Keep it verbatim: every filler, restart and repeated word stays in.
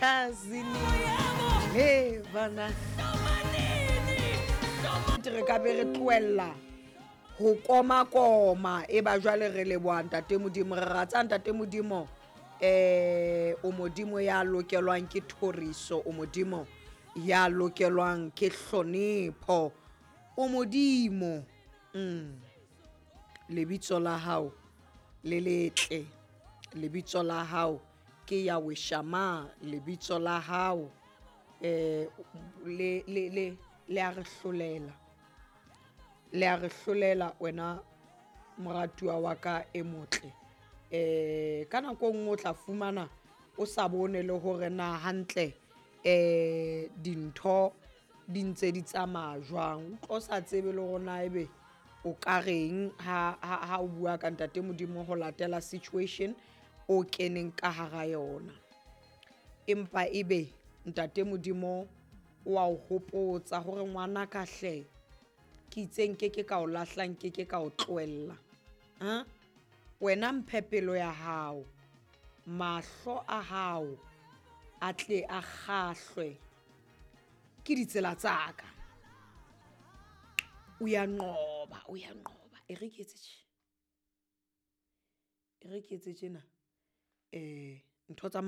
Kazini le bana re ka be re tlohella ho koma-koma e ba jwale re leboha ntate Modimo, re rata ntate Modimo. Eh o Modimo ya lokelwang ke thoriso, o Modimo ya lokelwang ke hlonepho, o Modimo. Mm lebitso la hao le letle, lebitso la hao ke Yahweh Shammah, lebitso la hao eh le le le le a re hlolela, le a re hlolela wena moratuwa wa ka e motle. Eh ka nako e nngwe o tla fumana o sa bone le hore na hantle eh dintho di ntse di tsamaya jwang, o tlo sa tsebe le hore na ebe o ka reng ha ha o bua ka ntate Modimo ho latela situation o keneng ka hara yona. Empa ebe ntate Modimo o a o hopotsa hore ngwana ka hle, ke itse nkeke ka o lahla, nkeke ka o tlohella. Ha wena mphe pelo ya hao, mahlo a hao a tle a kgahlwe ke ditsela tsa ka. Uyanqoba, uyanqoba. E re ke etse tje, e re ke etse tjena eh ntho tsa